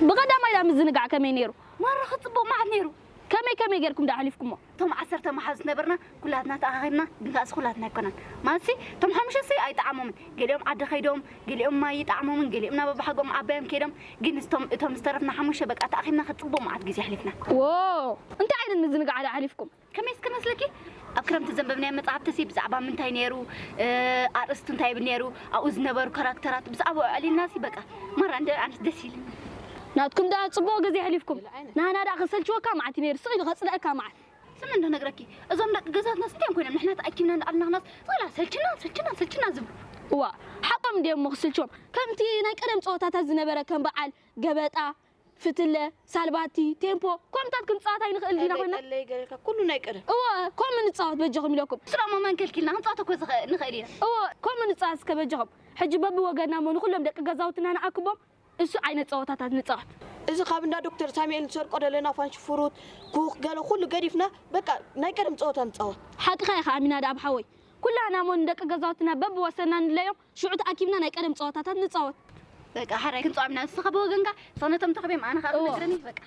ብቐዳማይ ዳ ምዝንጋዕ ከመይ ነይሩ? ማራ ክጽቡቕ መዓት ነይሩ። ከመይ ከመይ ጌርኩም ዳ ኣሕሊፍኩሞ? እቶም ዓሰርተ መሓዙት ነበርና ኩላትና ተኣኻኺብና፣ ግን ከኣስ ኩላትና ኣይኮናን። ማለትሲ እቶም ሓሙሽተ ሲ ኣይጠዓሞምን። ገሊኦም ዓዲ ከይዶም፣ ገሊኦም ማይ ይጠዓሞምን፣ ገሊኦም ናብ ኣባሓጎም ዓባዮም ከይዶም። ግን እቶም እቶም ዝተረፍና ሓሙሽተ በቃ ተኣኺብና ክጽቡቕ መዓት ግዜ ኣሕሊፍና። ዎ እንታይ ዓይነት ምዝንጋዕ ዳ ኣሕሊፍኩም? ከመይ እስከ መስለኪ ኣብ ክረምቲ ዘንበብናዮ መጽሓፍቲ ሲ ብዛዕባ ምንታይ ነይሩ ኣርእስቱ እንታይ ይብል ነይሩ ኣብኡ ዝነበሩ ካራክተራት ብዛዕባኡ ኣዕሊልና ሲ በቃ ማራ እንደ ኣነስ ደስ ኢልኒ። ናትኩም ደኣ ጽቡቕ ግዜ ኣሕሊፍኩም። ናህና ደኣ ከሰልችወካ መዓት እዩ ነይሩ፣ ስቕ ኢሉ ከጽልኣካ መዓት። ስሚ እንዶ ነግረኪ እዞም ደቂ ገዛትና ስንቲኦም ኮይኖም ንሕና ተኣኪብና እንዳኣልና ክናስ ስቕላ ሰልችና ሰልችና ሰልችና ዝብሉ። እዋ ሓቆም እንድዮም እሞ ክስልችዎም። ከምቲ ናይ ቀደም ጸወታታት ዝነበረ ከም በዓል ገበጣ፣ ፍትለ፣ ሳልባቲ፣ ቴምፖ፣ ከምታት ክንጻወት ኣይንኽእል ዲና ኮይና? ጠለይ ገለልካ ኩሉ ናይ ቀደም። እወ፣ ከምኡ ንጻወት በጃኹም ኢለኩም። ስራሞ መን ከልኪልና ክንጻወት እኮ ዝኸ- ንኽእል ኢና። እወ፣ ከምኡ ንጻወት እስከ በጃኹም። ሕጂ በብወገንና እሞ ንኹሎም ደቂ ገዛውትና ንኣክቦም እሱ ዓይነት ጸወታታት ንጻወት። እዚ ካብ እንዳ ዶክተር ሳሙኤል ንሰርቆ ደለና ፋንሽፉሩት፣ ኩኽ፣ ገለ ኩሉ ገዲፍና በቃ ናይ ቀደም ጸወታ ንጻወት። ሓቅኻ ኢኻ ኣሚናድኣብ ሓወይ። ኩላህና እሞ ንደቂ ገዛውትና በብወሰንና ንለዮም ሽዑ ተኣኪብና ናይ ቀደም ጸወታታት ንጻወት። በቃ ሓራይ ክንጻወት ኢና ንስኻ ብወገንካ እሷ ነቶም ተኽቤም ኣነ ኸኣ እወ። ክነግረኒ በቃ።